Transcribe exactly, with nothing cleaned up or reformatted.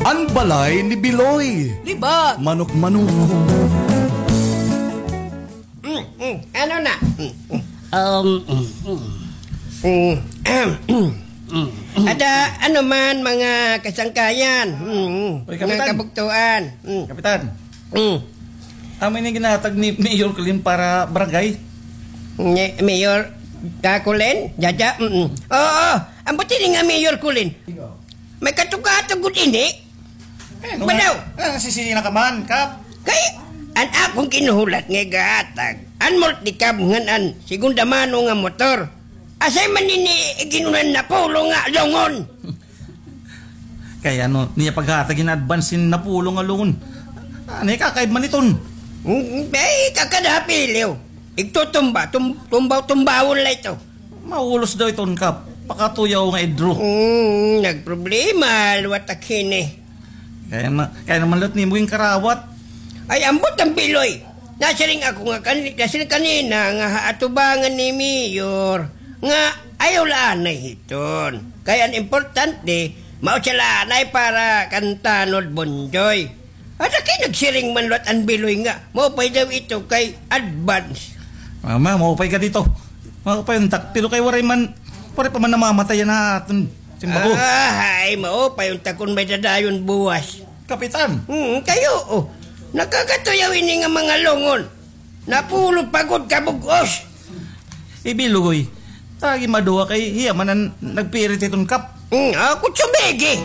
An balay ni Biloy. Libat. Manok-manok. Mm, mm. Ano na? Mm, mm. Um, mm, mm. Mm, ahem. Mm, mm. Ada, ano man, mga kasangkayan, mm, mm, Uy, mga Kapitan. Kabugtuan. Mm. Kapitan. Mm. Amo ini ginhatag ni Mayor Colin para barangay? Ni Mayor Kakulin? Jaja? Mm, mm. Oo, ambot ini nga Mayor Colin. May katugkatug gud ini. Eh, ano Badaw! Nga, ah, sisina ka man, Kap? Kay, an akon ginhulat nga gahatag, an multicab ngan an segunda mano nga motor. Asay man ini iginunan napulo nga lungon? Kay ano, niya paghatag in advance in napulo nga lungon. Ano, kakaib man iton? Mm, ay, kakadapiliw. Igtutumba, tum-, tumbaw-tumbawon la ito. Maulos daw iton, Kap. Pakatuyaw nga idro. Hmm, nagproblema liwat ak hini. Kaya ma-, kaya naman liwat nimo ginkarawat. Ay, ambot an Biloy. Nasiring ako nga kan-, nasiring kanina nga ha atubangan ni Mayor nga ayaw la anay hiton. Kay an importante, mao siya la anay para kan Tanod Bonjoy. Ada kay nagsiring man liwat an Biloy nga maupay daw ito kay advance. Mama, maupay ka dito. Maupay untak, pero kay waray man, waray pa man namamatay yana aton simbago. Ah, ay, maupay untak kon may dadayon buwas. Kapitan. Hmm, kayo, oh. Nakakatuyaw ini nga mga lungon. Napulo pa gud ka bug-os. Ibiloy, tagi maduwa kay hiya man an nagpirit hiton, Kap. Hmm, ako sumigi.